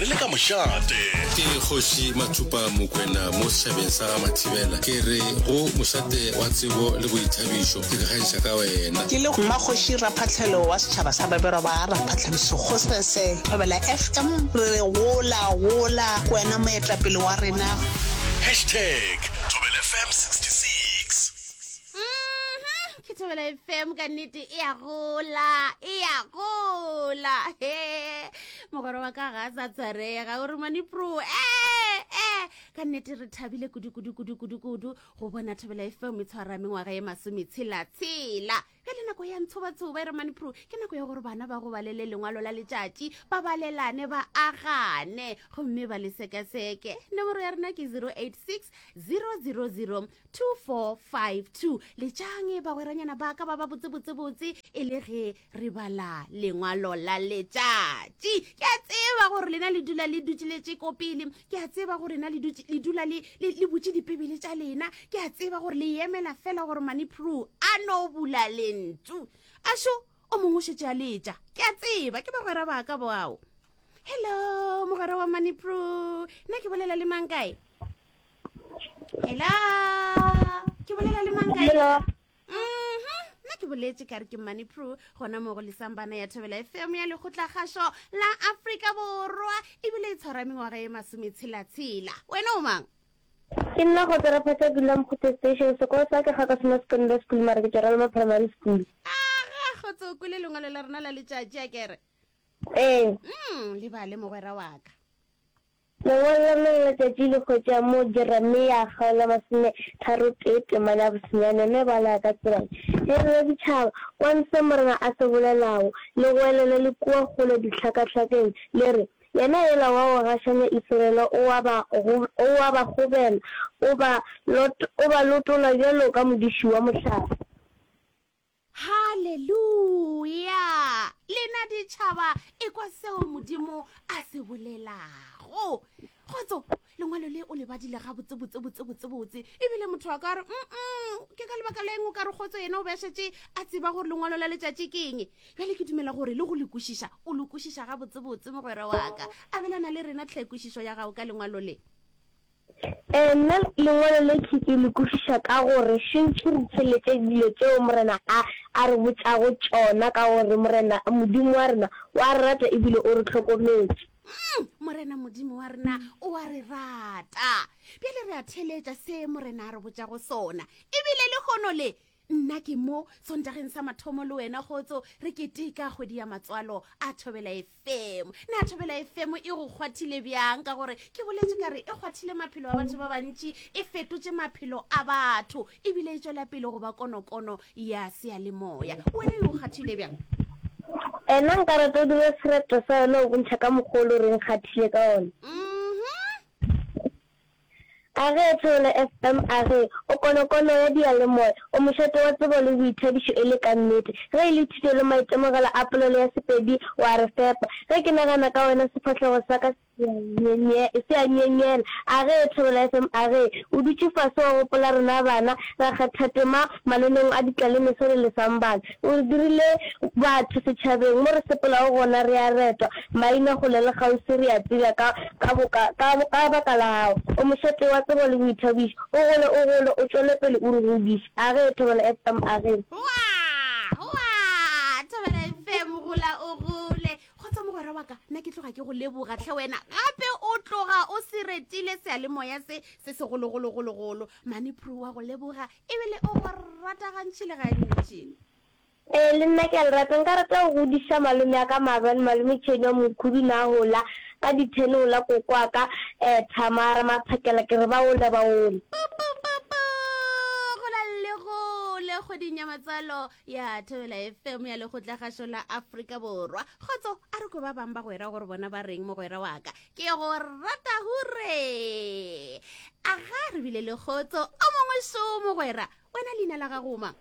Re le ka mošate. Ke Kgoši Mathupa Mokwena mo setšhabeng sa ga Mathibela. Ke re go mošate wa tsebo le boithabišo, ke ikgantšha ka wena. Ke le Mmakgoši Raphahlelo wa setšhaba sa Baberwa ba Raphahlelo Sekgosese, Thobela FM, re re gola, gola, ke wena moetapele wa rena. Hashtag Thobela FM 66. Mhm, ke thobela fm ka nnete e a gola e a gola he mogwera wa ka ga a sa tshwarega o re mane pro ee e ka nnete re thabile kudu kudu kudu kudu kudu go bona thobela fm e tshwara mengwaga ye masometshela-tshela bjale nako ya ntshobatshoba e re mane pro ke nako ya gore bana ba go balele lengwalo la letšatši ba balelane ba agane gomme ba le sekaseke nomoro ya rena ke 086 000 2452 letšang bagweranyana ba ka ba ba botsebotsebotse e le ge re bala lengwalo la letšatši ke a tseba gore lena le dula le dutšiletše ko pele ke a tseba gore lena le dula le butše dipebele tša lena ke a tseba gore le emela fela gore manipro a no bula lentšu ašo o mongwe o šetše a letša ke a tseba ke bagwera ba ka boao hello mogwera wa manipro nna ke bolela le mang kae hello ke bolela le mang kae Hello. Mhm, nna ke boletše ka re ke money pro gona mo go lesambana ya thobela fm ya lekgotlakgašo la afrika borwa ebile e tshwara mengwaga e masometshela-tshela wena o mang Ke nna go tsera phata dula Mokgothe Station sekolo sa ke ga ka sena secondary school mara ke tšwa Ralema Primary School. aga kgotse o kwele lengwalo la rena la letšatši a kere Ee. mm, lebale mogwera wa ka Lengwalo la lona la letšatši le hwetša mo Jeremia kgaolo ya masometharotee temana ya bosenyane mme bala ka tsela ye, Ge lena ditšhaba, kwang se Morena a se bolelago, le goelele le kua kgole dihlakahlakeng, le re, Yena yola wa go gašanya Isiraele o a ba, o a ba gobela, o ba, o ba lotola bjalo ka modiši wa mohlape. Haleluya! Lena ditšhaba, ekwa seo Modimo a se bolelago. Kgotso, lengwalo le o le badile gabotse botse botse botse botse. Ebile motho a ka re, mm ke ka lebaka la eng o ka re kgotso yena o be a šetše a tseba gore lengwalo la letšatši ke eng. Bjale ke dumela gore le go le kwešiša, o le kwešiša gabotse botse mogwera wa ka. Abelana le rena tlhe kwešišo ya gago ka lengwalo le. Ee, nna lengwalo le ke ke le kwešiša ka gore šentši re theeletše dilo tšeo Morena a a re botšago tšona ka gore Morena Modimo wa rena o a re rata e bile o re hlokometše. Mm, Morena Modimo wa rena o a re rata. Bjale re a theeletša se Morena a re botšago sona. E bile lehono le Nna ke mo Sontageng sa mathomo le wena kgotso re keteka kgwedi ya matswalo a Thobela FM. Na Thobela FM e go kgwathile bjang? Ka gore ke boletše ka re e kgwathile maphelo a batho ba bantši, e fetotše maphelo a batho, ebile e tšwela pele go ba konokono ya seyalemoya. Wena e go kgwathile bjang? Nna nka rata o dire sereto sa yona o bontšha ka mokgwa o le gore e nkgathile ka ona. Mhm. A ge, Thobela FM, a ge, o konokono ya diyalemoya, o mošate wa tsebo le boithabišo e le ka nnete. Ge e le thuto le maitemogelo a polelo ya Sepedi, o a re fepa. Ge ke nagana ka wena sefahlego sa ka se a nyenyela. A ge, Thobela FM, a ge, o dutše fase wa gopola rena bana, ra kgatha tema mananeong a ditlalemeso le lesambana. O re dirile batho setšhabeng, mo re sepelago gona re a retwa, maina kgole le kgauswi re a tsebja ka, ka boka, ka, ka baka la gago. O mošate wa tsebo le boithabišo, o gole, o gole, o tšwele pele o re godiše. A ge, Thobela FM, a ge. Hoa! Hoa! Thobela FM, gola o gole. Kgotsa mogwera wa ka, nna ke tloga ke go leboga tlhe wena. Gape o tloga o se retile seyalemoya se, se segologologologolo. Mane Prue wa go leboga Ebile o go rata gantši le gantši. Ee, le nna ke a le rata. Nka rata go godiša malome a ka maabane, malome Tšheni wa Mokhudu na hola ka di-ten hola koko wa ka um Thamara Maphakela ke re ba ole ba ole. Pupupupu! Go la le gole kgweding ya matswalo ya Thobela FM ya Lekgotlakgašo la Afrika Borwa. Kgotso, a re kwe ba bang bagwera gore bona ba reng mogwera wa ka. Ke go rata hure. Aga re bile le kgotso o mongwe šo mogwera. Wena leina la gago mang?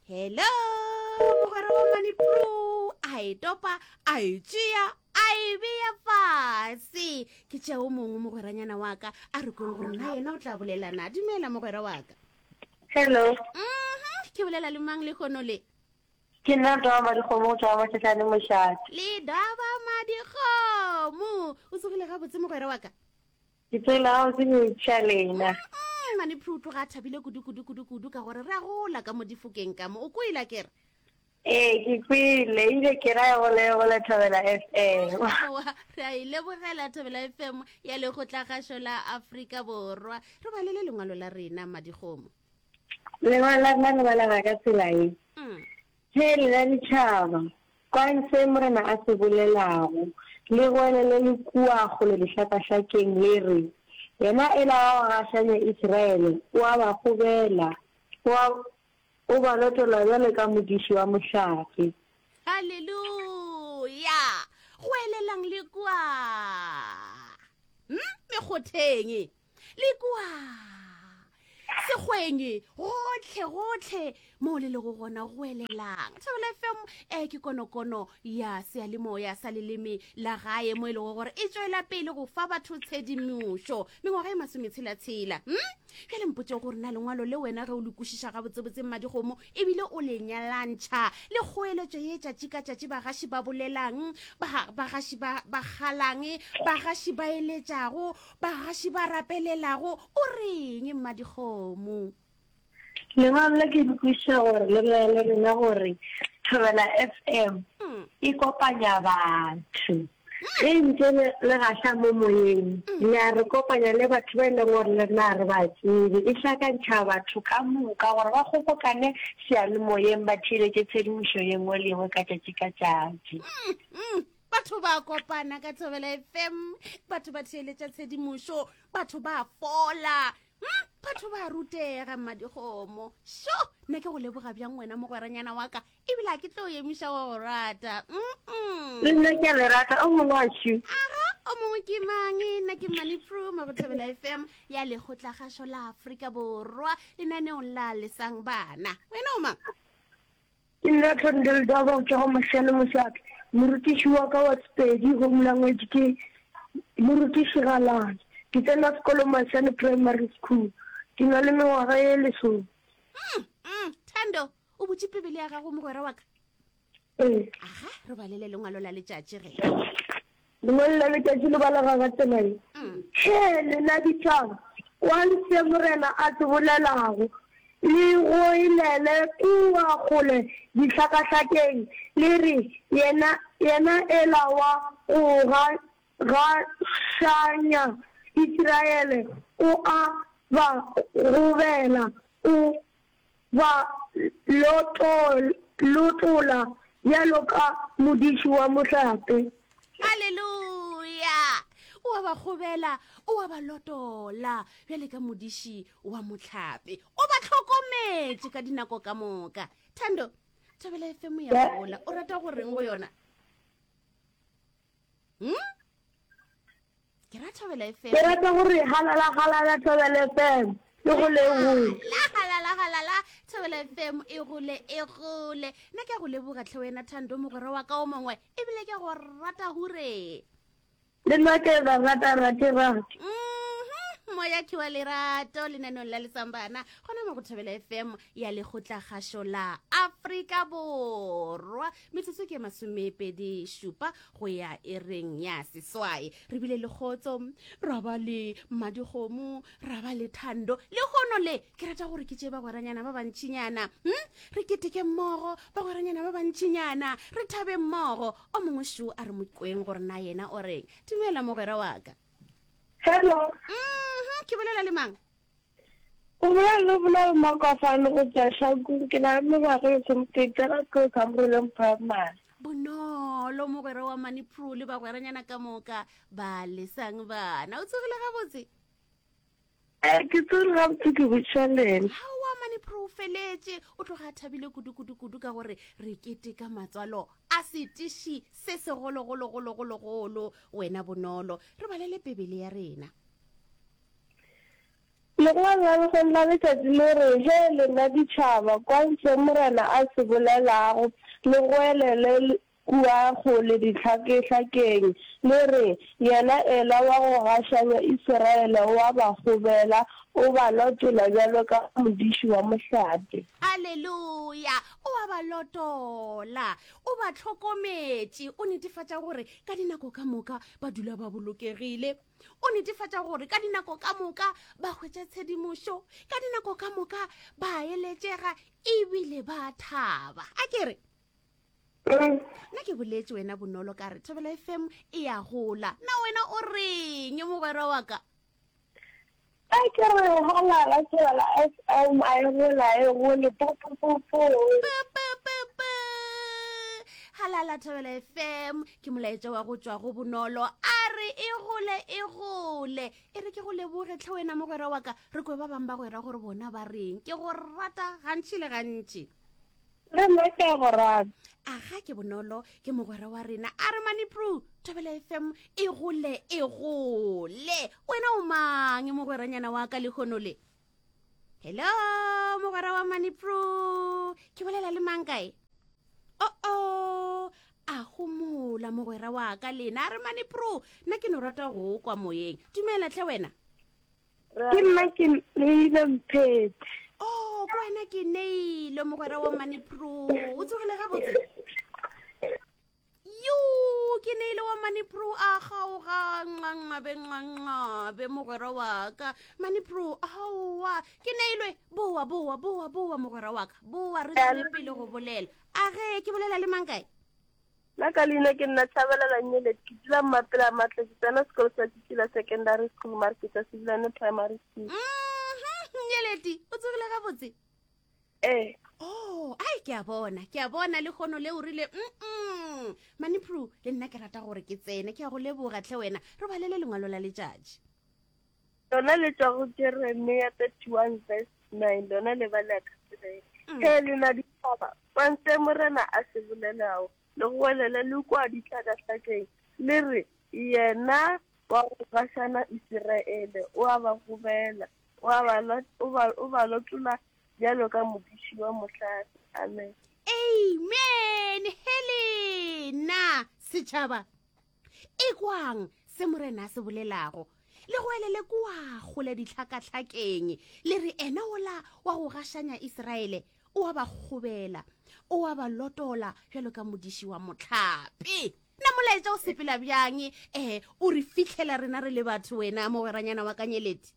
Hello, mogwera wa Manipro. A e topa, a e tšea, a e bea fase. Ke tšea o mongwe mogweranyana wa ka, a re kweng gore na yena o tla bolela na. Dumela mogwera wa ka. Hello. Mhm, ke bolela le mang lehono le? Ke nna Dwaba Madikgomo go tšwa Mašašane Mošate. Le Dwaba Madikgomo. gabotse mogwera wa ka? Ke tsogile gabotse ke botšiša lena. Mane Pru o tloga a thabile kudu kudu kudu kudu ka gore re a gola ka mo difokeng ka mo. O kwele akere? Ee, ke kwele ebile ke ra e gole e gole Thobela FM. Aowa, re a e lebogela Thobela FM ya Lekgotlakgašo la Afrika Borwa. Re balele lengwalo la rena, Mmadikgomo. Lengwalo la rena le balega ka tsela ye. Hee lena ditšhaba, kwang se Morena a se bolelago, le goelele le kua kgole dihlakahlakeng le re, Yena ela wa go gašanya Isiraele o a ba gobela, o a, o ba lotola bjalo ka modiši wa mohlape. Haleluya! Goelelang le kua mekgotheng, le kua sekgweng, gohle gohle moo le lego gona, goelelang. Thobela FM e ke konokono ya seyalemoya sa leleme la gae, mo e lego gore e tšwela pele go fa batho tshedimošo mengwaga e masometshela-tshela. Bjale mpotše gore na lengwalo le wena ge o le kwešiša gabotsebotse mmadikgomo ebile o le nyalantšha le kgoeletšo ye tšatši ka tšatši bagaši ba bolelang, bagaši ba ba kgalang, bagaši ba eletšago, bagaši ba rapelelago, o reng mmadikgomo? Lengwalo le ke le kwešiša gore le bolela le rena gore Thobela FM e kopanya batho. Ge ntše le le gaša mo moyeng, le a re kopanya le batho ba e leng gore le rena ga re ba tsebe. E hlakantšha batho ka moka gore ba kgobokane seyalemoyeng ba theeletše tshedimošo ye nngwe le ye nngwe ka tšatši ka tšatši. Batho ba kopana ka Thobela FM, batho ba theeletša tshedimošo, batho ba fola, batho ba rutega mmadikgomo. Sho, nna ke go leboga bjang wena mogweranyana wa ka, ebile a ke tlo emiša wa go rata. Le nna ke a le rata, o mongwe wa šu. Aga, o mongwe ke mang? Nna ke Mmane Pruma go Thobela FM ya Lekgotlakgašo la Afrika Borwa, lenaneong la Lesang Bana. Wena o mang? Ke nna Thondel Daba go tšwa go Mashano Mošate. Morutiši wa ka wa Sepedi, Home Language, ke Morutiši Galane. Ke tsena sekolo Mashano Primary School. Ke na le mengwaga ye lesome. Thando, o butše Bibele ya gago mogwera wa ka? Ee. Aga, re balele lengwalo la letšatši ge. Lengwalo la letšatši le balega ka tsela ye. Hee lena ditšhaba, kwang se Morena a se bolelago, le goelele kua kgole dihlakahlakeng, le re, Yena, yena ela wa go ga, gašanya Isiraele o a ba gobela, o ba lotola bjalo ka modiši wa mohlape. Haleluya! O a ba kgobela, o a ba lotola bjale ka modiši wa mohlape. O ba hlokometše ka dinako ka moka. Thando, Thobela FM ya gola. O rata go reng go yona? Hmm? Ke ra Thobela FM. Ke rata gore halala halala Thobela FM e gole e gole. La halala halala Thobela FM e gole e gole. Nna ke a go leboga tlhe wena Thando mogwera wa ka o mongwe ebile ke go rata hure. Le nna ke ba rata rate rate. Mhm, moya ke wa lerato lenaneong la lesambana gona mo go Thobela FM ya Lekgotlakgašo la Afrika Borwa. Metsotso ke masomepedi šupa go ya ereng ya seswai. Re bile le kgotso, ra ba le mmadikgomo, ra ba le thando. Lehono le ke rata gore ke tšee bagweranyana ba bantšinyana, Re keteke mmogo, bagweranyana ba bantšinyana, re thabe mmogo. O mongwe šo a re mo kweng gore na yena o reng. Dumela mogwera wa ka. Hello. Ke bolela le mang? O bolela le Bonolo Makwafane go tšwa Hlakong. Ke na le mengwaga e lesomepedi, tsena sekolo sa Moroleng Primary. Bonolo mogwera wa Manipro le bagweranyana ka moka ba lesang bana. O tsogile gabotse? Ee, ke tsogile gabotse, ke botšiša lena. Aowa Manipro o feletše, o tloga a thabile kudu kudu kudu ka gore re keteka matswalo a setiši se segologologologologolo. Wena Bonolo, re balele Bibele ya rena. Lengwalo la lehono la letšatši le re, Hee lena ditšhaba, kwang se Morena a se bolelago, le goelele. kua kgole dihlakehlakeng, le re, Yena Ela wa go gašanya Isiraele o a ba kgobela, o ba lotola bjalo ka modiši wa mohlape. Haleluya! O a ba lotola, o ba hlokometše, o netefatša gore ka dinako ka moka ba dula ba bolokegile. O netefatša gore ka dinako ka moka ba hwetša tshedimošo, ka dinako ka moka ba eletšega ebile ba thaba. A ke re, nna ke boletše wena bonolo ka re thobela fm e ya gola na wena o reng mogwera wa ka a ke re halala thobela fm a e gola e gole pupupupu halala thobela fm ke molaetša wa go tšwa go bonolo a re e gole e gole e re ke go leboge tlhe wena mogwera wa ka re kwe ba bangwe ba gwera gore bona ba reng ke go rata gantši le gantši Le nna ke a go rata. Aga ke bonolo ke mogwera wa rena a re mane pru thobela fm e gole e gole wena o mang mogweranyana wa ka lehono le hello mogwera wa mane pru ke bolela le mang kae oo a gomola mogwera wa ka lena a re mane pru nna ke no rata go kwa moyeng dumela tlhe wena Ke nna ke neile Mphethe. Oh, ke wena ke neile mogwera wa Money Pro. O tsogile gabotse? Yo, ke neile wa Money Pro a kgaoga nqanqabe nqanqabe mogwera wa ka. Money Pro, aowa, ke neilwe. Boa, boa, boa, boa mogwera wa ka. Boa re tswele pele go bolela. A ge ke bolela le mang kae? Nna ka leina ke nna Tshabalala Nyelet, ke dula Mmapela Matle, ke tsena sekolo sa Tšitšila Secondary School mare ke tšwa Sebilane Primary School. Mhm, Nyeleti, o tsogile gabotse? Ee. Oh, ai ke a bona, ke a bona le kgono le o rile mm Manipru, le nna ke rata gore ke tsene, ke a go leboga tlhe wena. Re balele lengwalo la letšatši. Lona le tšwa go Jeremia 31 verse 9, lona le bala ka tsela ye. Mm. Ge lena ditšhaba, kwang se Morena a se bolelago, le goelele le kua dihlakahlakeng, le re, Yena wa go gašana Isiraele o a ba gobela, o a ba, o ba, o ba lotola bjalo ka modiši wa mohlape. Amen. Amen. Helena setšhaba. Ekwang se Morena a se bolelago, le goelele kua kgole dihlakahlakeng, le re, Ena wola wa go gašanya Israele o a ba kgobela, o a ba lotola bjalo ka modiši wa mohlape. Na molaetša o sepela bjang? Eh, o re fihlela rena re le batho, wena mogweranyana wa Kanyeleti?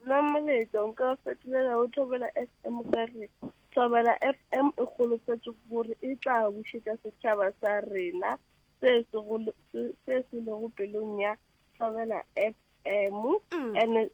Nna molaetša nka o fetolela go Thobela FM ka re, Thobela FM e holofetše gore e tla bušetša setšhaba sa rena se se go se se lego pelong ya Thobela FM mm. and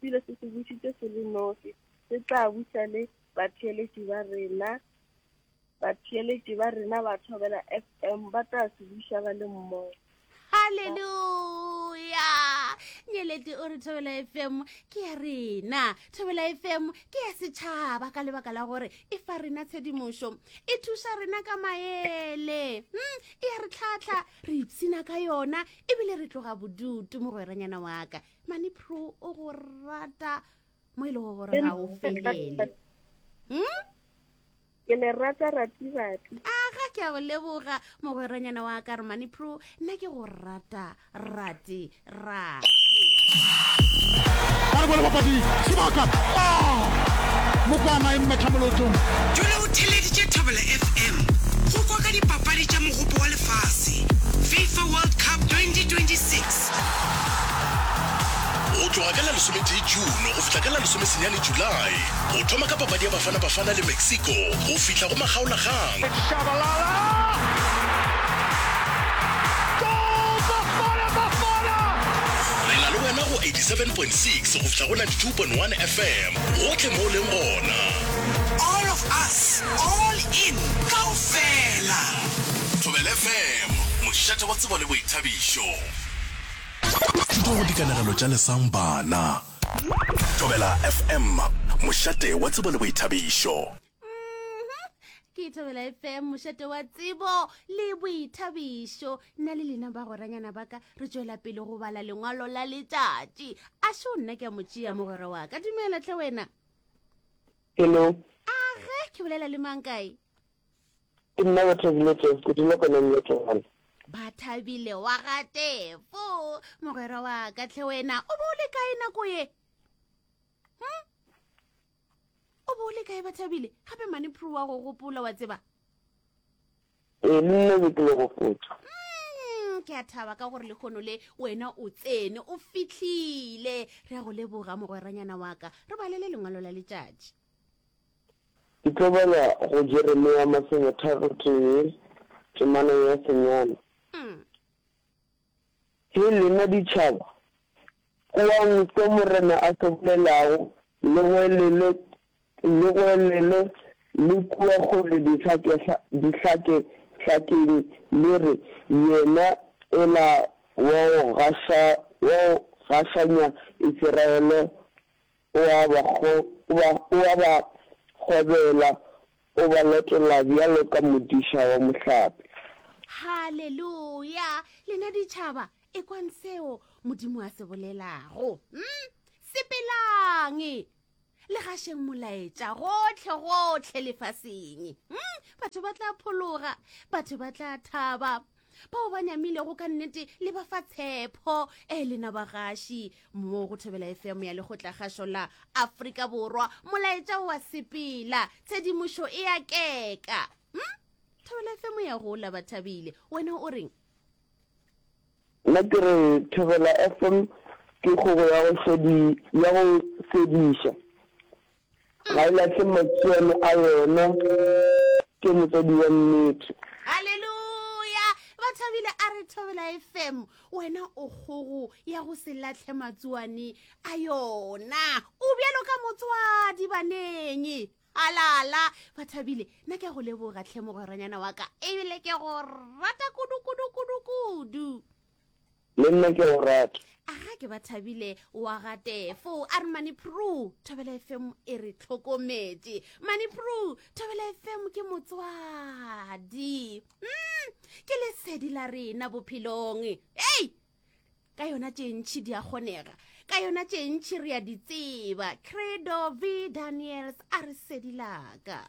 ebile se se bušitše se le nosi se tla buša le batheeletši ba rena Batheeletši ba rena ba Thobela FM ba tla se buša ba le mmogo. Haleluya! Nyeleti o re Thobela FM ke ya rena. Thobela FM ke ya setšhaba ka lebaka la gore e fa rena tshedimošo, e thuša rena ka maele, hmm, e ya re tlhatlha, re ipshina ka yona ebile re tloga bodutu mogweranyana wa ka. Mane Pro o go rata mo e lego gore ga o felele. Hmm? Ke le rata rati-rati. Aga ke a go leboga mogweranyana wa ka Romane Pro, nna ke go rata rati rati. Ba re bole bapadi sebaka. Ah! Mokwana e mmetha molotong. Dula o theeleditše Thobela FM go kwa ka dipapadi tša Mogopo wa Lefase, FIFA World Cup 2026. Go tloga ka la lesometee June go fihla ka la lesomesenyane July, go thoma ka papadi ya Bafana Bafana le Mexico go fihla go makgaolakgang. Re na le wena go 87.6 go fihla go 92.1 FM, gohle mo o leng gona. All of us, all in, kaofela. Thobela FM, mošate wa tsebo le boithabišo. Thuto go dikanegelo tša Lesang Bana. Thobela FM, mošate wa tsebo le boithabišo. Mhm. Ke Thobela FM, mošate wa tsebo le boithabišo. Nna le lena bagweranyana ba ka re tšwela pele go bala lengwalo la letšatši. A šo nna ke a mo tšea mogwera wa ka. Dumela tle wena. Hello. Age, ke bolela le mang kae? Ke nna Bathabile Tefo, ke dula kona Mmetwane. Bathabile wa ga Tefo, mogwera wa ka tlhe wena, o bo o le kae nako ye? Hm? O bo o le kae Bathabile? Gape mane Prue wa go gopola wa tseba. Ee, le nna be ke le gopotša. Mm, ke a thaba ka gore lekgono le wena o tsene o fihlile. Re a go leboga mogweranyana wa ka. Re balele lengwalo la letšatši. Ke tlo bala go Jeremia masometharotee, temana ya senyane. Hee lena ditšhaba, kwang se Morena a se bolelago, le goelele, le goelele le kua kgole dihlakehlakeng, le re, Yena ela wa go gaša, wa go gašanya Isiraele O a ba, o a ba gobela, o ba latola bjalo ka modiša wa mohlape. Haleluya! Lena ditšhaba, ekwang seo Modimo a se bolelago. Hmm? Sepelang, le gašeng molaetša gohle gohle lefaseng. Hmm? Batho ba tla phologa, batho ba tla thaba. Bao ba nyamilego ka nnete le ba fa tshepho. E lena bagaši mo go Thobela FM ya Lekgotlakgašo la Afrika Borwa, molaetša o a sepela, tshedimošo e a keka. Hm? Thobela FM ya gola, ba thabile. Wena o reng? Nna ke re Thobela FM ke kgogo ya go sedi, ya go sediša. Ga e lahle matsuane a yona, ke motswadi wa nnete. Haleluya! Ba thabile a re Thobela FM, wena o kgogo ya go se lahle matsuane a yona. O bjalo ka motswadi baneng. Halala! Ba thabile, nna ke a go leboga tlhe mogweranyana wa ka, ebile ke go rata kudu kudu kudu kudu. Le nna ke go rata. Aga ke ba thabile wa ga Tefo a re Mane Prue Thobela FM e re tlhokometše. Mane Prue Thobela FM ke motswadi. Mm, ke lesedi la rena bophelong. Ei! Ka yona tše ntši di a kgonega. Ka yona tše ntši re a di tseba. Credo V Daniels a re sedi laka.